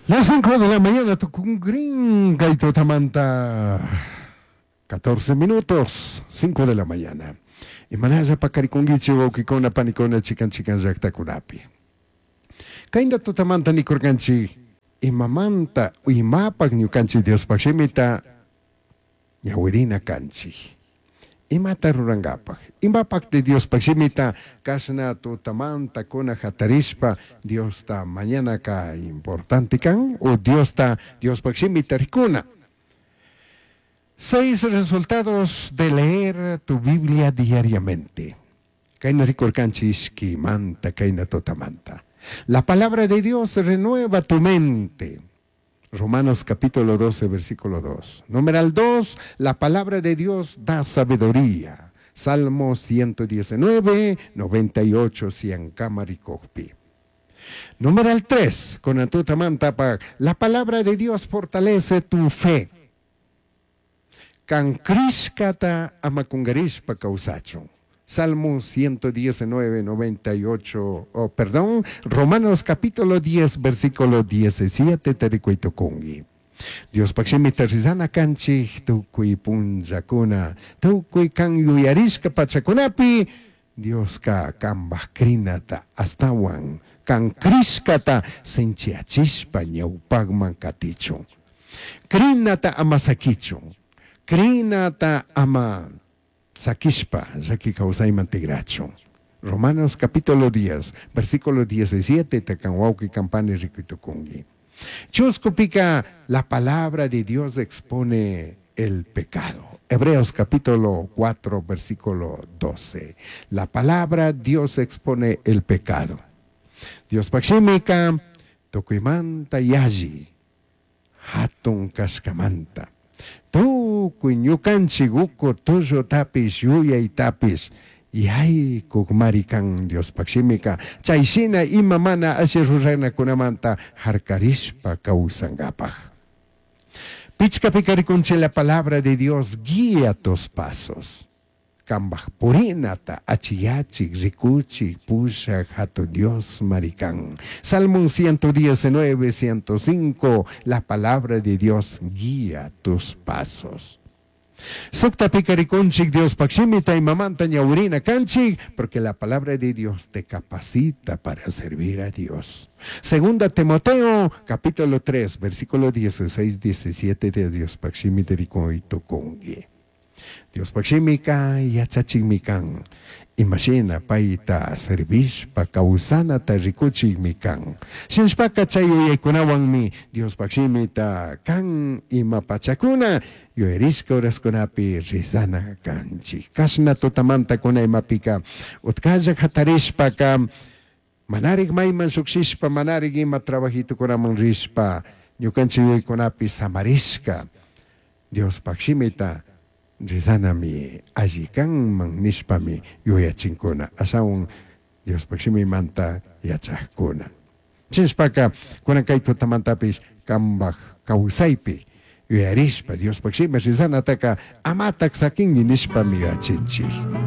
Las 5 de la mañana, tucungrin, kay tutamanta 14 minutos, 5 de la mañana. Imanalla paqarikunkichik wawqikuna, panikuna, chikan chikan llaqtakunapi. Kayna tutamanta nikurqanchik imamanta imapaq ñukanchik Diospaq shimita ñawirina kanchik. Imata rurankapaq, imapaq Diospaq shimita kashna tutamanta kuna hatarishpa Diosta mañanaka importante kan o Diosta Diospaq shimita rikuna. Seis resultados de leer tu Biblia diariamente. Kayna rikurkanchik ishkimanta, kayna tutamanta. La palabra de Dios renueva tu mente. Romanos capítulo 12, versículo 2. Numeral 2, la palabra de Dios da sabiduría. Salmo 119, 98, Siankama rikukpi. Numeral 3, con tutamanta, la palabra de Dios fortalece tu fe. Kan crishkata ama kungarishpa kawsachun. Salmo 119, 98, oh, perdón, Romanos capítulo 10, versículo 17, tarikuitukungi. Diospaq shimita rizana kanchik tukuy punllakuna, tukuy kan yuyarishka pachakunapi, Dioska kanpaj crinata astawan, kan crishkata sinchiyachishpa ñawpakman katichun. Crinata ama sakichun, crinata ama sakishpa llaki kawsayman tigrachun. Romanos capítulo 10, versículo 17, kan wawqi kan pani rikuytukunki. Chuskupika, la palabra de Dios expone el pecado. Hebreos capítulo 4, versículo 12. La palabra Dios expone el pecado. Diospaq shimika, tukuymanta yalli, hatun kashkamanta. Tukuy ñukanchik uku tullutapish yuyaytapish yaykukmari kan Diospaq shimika chay shina ima mana alli ruranakunamanta harkarishpa kawsankapaq. Pichkapika rikunchik la palabra de Dios guía tus pasos. Kanpaj purinata achiyachik rikuchik pushak hatun Dios mari kan. Salmo 119, 105, la palabra de Dios guía tus pasos. Suktapika rikunchik Diospaq shimita imamanta ñawirina kanchik, porque la palabra de Dios te capacita para servir a Dios. Segunda Timoteo, capítulo 3, versículo 16, 17 de Diospaq shimita rikuytukunki. Diospaq shimika yachachikmi kan. Imashina payta servishpa kawsanata rikuchikmi kan. Shinashpaka chay yuyaykunawanmi Diospaq shimita kan ima pachakuna yuyarishka horaskunapi rezana kanchik. Kashna tutamanta kuna imapika utkalla hatarishpaka manarik mayman llukshishpa manarik ima trabajitukunaman rishpa ñukanchik yuyaykunapi samarishka Diospaq shimita rezanami alli kanman nishpami yuyachinkuna ashawan Diospaq shimimanta yachaqkuna. Chinshpaka kunan kay tutamantapish kanpaj kawsaypi yuyarishpa Diospaq shimi rezanataka amatak sakinki nishpami yuyachinchik.